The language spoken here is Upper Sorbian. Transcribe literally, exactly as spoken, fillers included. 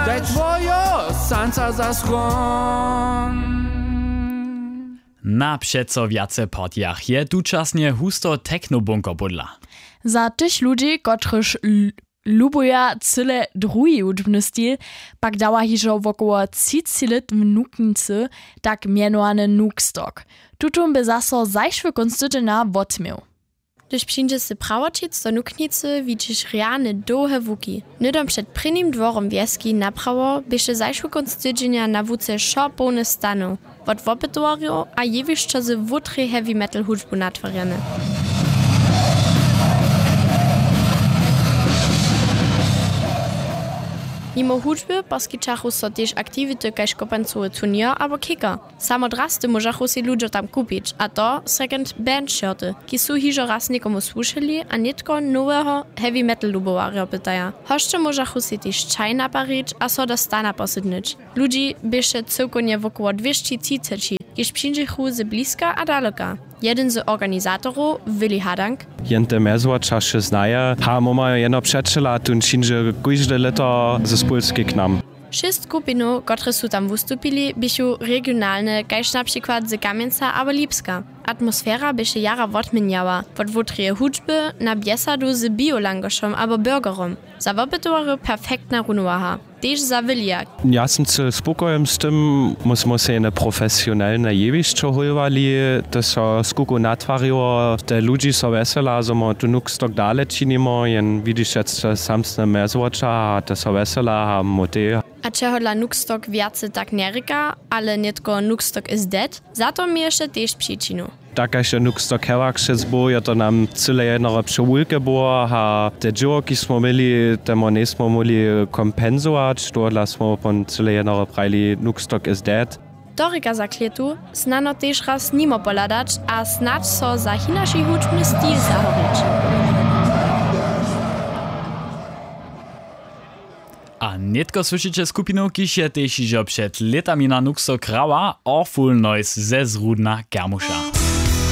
Daj twojo sanca za schron. Na přeco wjace partijach je tučasnje husto technobunker pódla. Za tych ludźi, kotryž lubuja cyle druhi hudźbny stil, pak dawa hižo wokoło třicelit w nuknicy tak mjenowany nukstock. Tutón by zaso zašły kónc tydźenja wotměł. Hdyž přińdźeš se prawoćic do nuknicy, widźiš rjane dołhe łuki. Hnydom před prěnim dworom wjeski naprawo běše zašły kónc tydźenja na łuce wšo połny stanow wot wopytowarjow a jewišćo z wutrej heavy metal hudźbu natwarjane. Nimo hudźby poskićachu so tež aktiwity kaž kopancowy turněr abo kicker. Samo drasty móžachu sej ludźo tam kupić, a to second band shirty, kiž su hižo raz někomu słušeli a nětko noweho heavy metal lubowarjo pytaja. Hosće móžachu sej tež čaj naparić a so do stana posydnyć. Ludźi běše cyłkownje wokoło dwěsći třiceći, kiž přińdźechu z bliska a daleka. Jedyn z organizatorow willi hadank. Jen te mjezwočaše znaje, ha móma jeno přećela, tón přińdźe kóžde lěto z pólskej k nam. Šěsć skupinow, kotrež su tam wustupili, běchu regionalne, kaž na přikład z kamjenca abo lipska. Atmosfera běše jara wotměnjała, wot wutreje hudźby na bjesadu z biolangošom abo burgerom. Za wopytowarjow perfektna runowaha, tež za wilija. Ja sym cyle spokojny z tym. Mósmy sej jene profesionelne jewišćo hólowali, to so skuku natwariło, te ludźi so wjesela zo mo tu nukstock dale činimo jen widiš je samsne mjezwoča a to so wjesela a mótej. A čehodla nukstock wjace tak njerěka, ale nětko nukstock is dead, za to měješe tež přičinu. Tak kaž je nukstock hewak šec był je to nam cyle jednore přewulke było a te dźěło kiž smo měli temu njejsmo móhli kompensować tohodla smo pon cyle jednore prajili nukstock is dead. To rěka za klětu, snano tež raz nimo pohladać a snadź so za hinaši hudźbny stil zahorić. A nětko słyšeće skupinu kiž je tež hižo před lětami na nukstock hrała, awful noise ze zrudna kermuša.